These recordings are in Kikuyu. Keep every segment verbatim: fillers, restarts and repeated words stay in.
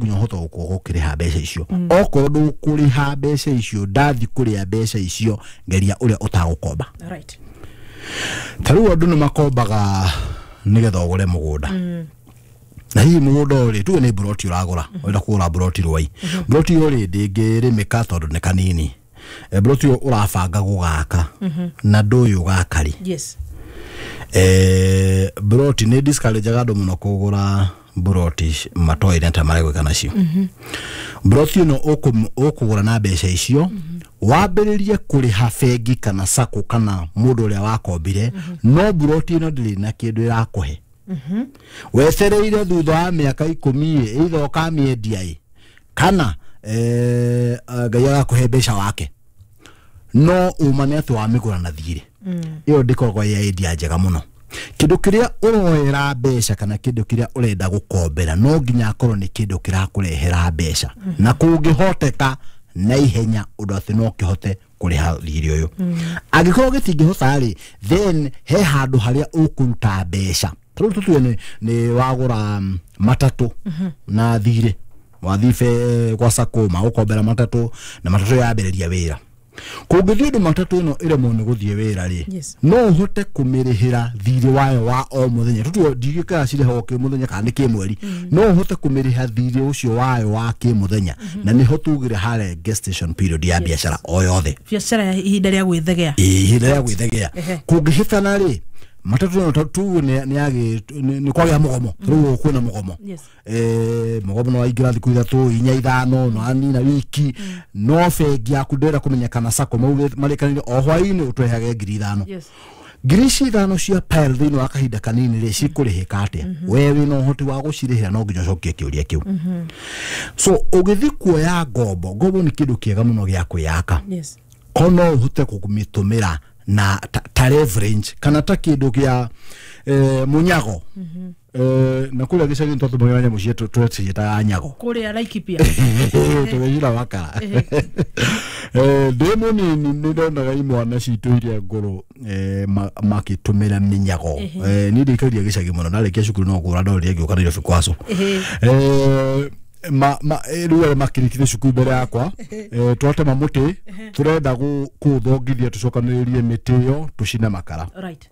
Nginya ũhote gũkorwo ũkĩrĩha mbeca icio. Okorwo ndũkũrĩha mbeca icio, ndathi kũrĩa mbeca icio, geria ũrĩa ũtagũkomba. Right. Ta rĩu andũ nĩ makombaga nĩgetha ũgũre mũgũnda, na hihi mũgũnda ũyũ rĩ, tuge nĩ mburoti ũragũra, ũrenda kũgũra mburoti Rwai. Mburoti ĩyo rĩ, ndĩngĩrĩmĩka tondũ nĩ kanini. Eh, mburoti ĩyo ũrabanga gũgaka na ndũĩ ũgaka rĩ. Yes. eh, mburoti nĩ discourageaga andũ mũno kũgũra mburoti matoĩ nĩ ta maregwĩka nacio. Mburoti ĩno ũkũ- ũkũgũra na mbeca icio, wambĩrĩrie kũrĩha bengi kana sacco kana mũndũ ũrĩa wakombire, no mburoti ĩno ndĩrĩ na kĩndũ ĩrakũhe. Wetereire thutha wa mĩaka ikũmi ĩ, either ũkamĩendia ĩ, kana eh, Ngai agakũhe mbeca wake, no uma nĩ atĩ wamĩgũra na thirĩ. Ĩyo ndĩkoragwo ĩ idea njega mũno. Kĩndũ kĩrĩa ũroera mbeca kana kĩndũ kĩrĩa ũrenda gũkombera no nginya akorwo nĩ kĩndũ kĩrakũrehera mbeca, na kũngĩhoteka na ihenya ũndũ atĩ no kĩhote kũrĩha thirĩ ũyũ. Angĩkorwo gĩtingĩhota rĩ, then he handũ harĩa ũkũruta mbeca. Ta rĩu tũtue nĩ, nĩ wagũra mm, matatũ na thirĩ, wathiĩ be gwa sacco magũkombera matatũ, na matatũ yambĩrĩria wĩra. Kũngĩthiĩ ũndũ matatũ ĩno ĩremwo nĩ gũthiĩ wĩra rĩ, Yes. no ũhote kũmĩrĩhĩra thirĩ wayo wa o mũthenya. Tũtue ndigĩkaga cirĩhagwo kĩmũthenya kana nĩ kĩmweri, no ũhote kũmĩrĩha thirĩ ũcio wayo wa kĩmũthenya, na nĩho tugire harĩa gestation period ya biacara o yothe. Biacara ya ihinda rĩa gwĩthegea. Ĩĩ, ihinda rĩa gwĩthegea. Ehe. Kũngĩhĩtana rĩ, matatũ ĩno tuge nĩ nĩ yagĩ- nĩ nĩ kwagĩa mũgomo, rĩu kwĩna mũgomo, Yes. eh mũgomo no waingĩra thikũ ithatũ, inya, ithano, no anina wiki, no bengi yaku ndĩrenda kũmenya kana sacco marĩkanĩire o hwaĩ-inĩ ũtũrehage ngiri ithano. Yes. Ngiri ici ithano cia pile thĩinĩ wa kahinda kanini rĩ, cikũrĩhĩka atĩa? We wĩna ũhoti wa gũcirĩhĩra? No nginya ũcokie kĩũria kĩu. So ũgĩthiĩ kuoya ngombo, ngombo nĩ kĩndũ kĩega mũno gĩa kwĩyaka, Yes. ko no ũhote kũmĩtũmĩra na ta, ta leverage kana ta kĩndũ kĩa eh, mũnyago. eh, na kũrĩa gĩcagi twatũmagĩra nyamũ cietũ tweciĩtaga nyago. Kũrĩa Laikipia. Tũgĩcira makara. Eh, ndĩ mũnini nĩ ndonaga imwana citũ iria ngũrũ eh, ma- makĩtũmĩra mĩnyago. Eh, niĩ ndĩikaria gĩcagi mũno, ndarĩkia cukuru no kũra ndorire ngĩũka Nairobi kwaco. Eh, ma ma eh, rĩu arĩa makĩrĩkire cukuru mbere yakwa, eh, twatema mũtĩ tũrenda gũ- kũũthongithia, tũcokanĩrĩrie mĩtĩ ĩyo tũcine makara. Right.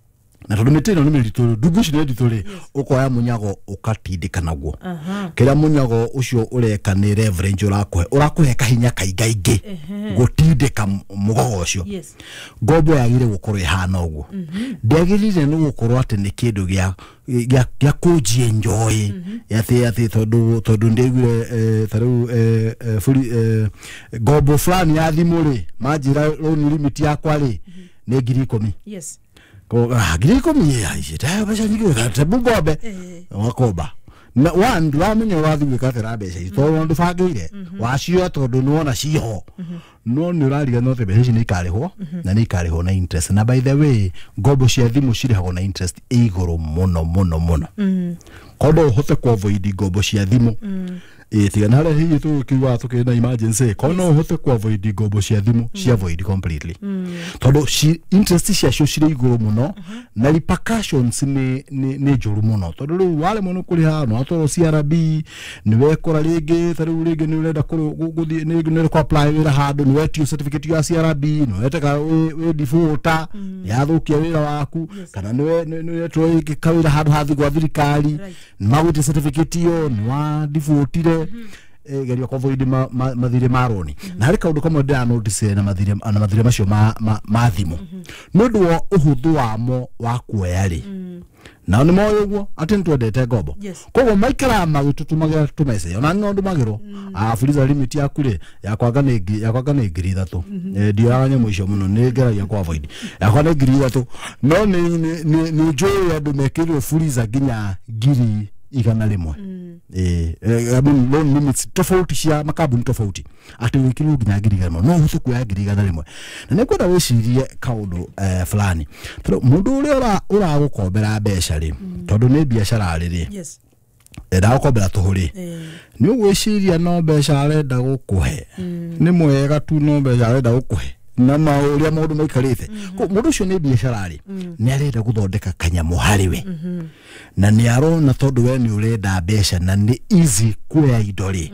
Na tondũ mĩtĩ ĩno nĩ mĩritũ, ndungu ici nĩ nditũ rĩ, ũkoya mũnyago ũkatindĩka naguo. Aha. Kĩrĩa mũnyago ũcio ũreka nĩ leverage, ũrakũhe ũrakũhe kahinya kaingaingĩ gũtindĩka m- mũgogo ũcio. Yes. Ngombo yagĩrĩire gũkorwo ĩhana ũguo. Ndĩagĩrĩire nĩ gũkorwo atĩ nĩ kĩndũ gĩa gĩa gĩa kũnji enjoy atĩ atĩ tondũ tondũ ndĩaiguire eh, ta rĩu eh, eh, buri eh, ngombo fulani ya thimũ rĩ, manjĩra loan limit yakwa rĩ nĩ ngiri ikũmi. Yes. Ko ah, ngiri ikũmi ici ta mbeca nyingĩ, tebu ngombe. Wakomba na one, ndũramenya ũrathiĩ gwĩka atĩa na mbeca ici, tondũ ndũbangĩire wacioya tondũ nĩwona ciho, no nĩ ũrariganĩrwo atĩ mbeca ici nĩ ikarĩhwo, na nĩ ikarĩhwo na interest. Na by the way, ngombo cia thimũ cirĩhagwo na interest ĩ igũrũ mũno mũno mũno. Korwo no ũhote ku avoid ngombo cia thimũ, ĩ tiga na harĩa hihi tũkiugaga tũkĩrĩ na emergency, korwo no ũhote ku avoid ngombo cia thimũ, ci avoid completely, tondũ ci- interest ciacio cirĩ igũrũ mũno na repercussions nĩ nĩ nĩ njũru mũno, tondũ rĩu waremwo nĩ kũrĩha no watwarwo C R B, nĩ wekora rĩngĩ ta rĩu rĩngĩ nĩ ũrenda kũrũ- gũ- gũthiĩ nĩ nĩ ũrenda kũ apply wĩra handũ, nĩ wetio certificate ya C R B, nĩ weteka wĩ wĩ defaulter, nĩ yathũkia wĩra waku, kana nĩ we- nĩ nĩ wetwo rĩngĩ kawĩra handũ hathi gwa thirikari, Right. nĩ magwĩtia certificate ĩyo, nĩ wa defaultire. eh, geria ku avoid ma, ma, mathirĩ ma roni. Na harĩ kaũndũ kamwe ndĩra notice na mathirĩ na mathirĩ macio ma, ma, ma thimũ, nĩ ũndũ wa ũhũthũ wamo wa kuoya rĩ, nao nĩ moĩ ũguo atĩ nĩ twendete ngombo. Yes. Koguo maikaraga magĩtũtũmagĩra tũmessage, ona no ndũmagĩrwo, ah fuliza limit yaku rĩ, yakwanga nĩ ngi- yakwanga nĩ ngiri ithatũ. Eh, ndioyaga nyamũ icio mũno, nĩ ngeragia ku avoid. Yakwa nĩ ngiri ithatũ, no nĩ nĩ- nĩ nĩ njũĩ andũ mekĩrirwo fuliza nginya ngiri igana rĩmwe. Eh, eh, I mean, loan limits tofauti cia makambuni tofauti, atĩ wĩkĩrirwo nginya ngiri igana rĩmwe, no ũhote kuoya ngiri igana rĩmwe. Na nĩ ngwenda wĩcirie kaũndũ eh, fulani, tondũ mũndũ ũrĩa ũra- ũragũkombera mbeca rĩ, tondũ nĩ biacara rĩ rĩ, Yes. ndagũkombera tũhũ rĩ, Eh, nĩ ũgwĩciria no mbeca arenda gũkũhe, nĩ mwega tu, no mbeca arenda gũkũhe? Na maũrĩa maũndũ maikarĩte. Ko mũndũ ũcio nĩ biacara rĩ, nĩ arenda gũthondeka kanyamũ harĩ we, na nĩ arona tondũ we nĩ ũrenda mbeca na nĩ easy kuoya indo rĩ.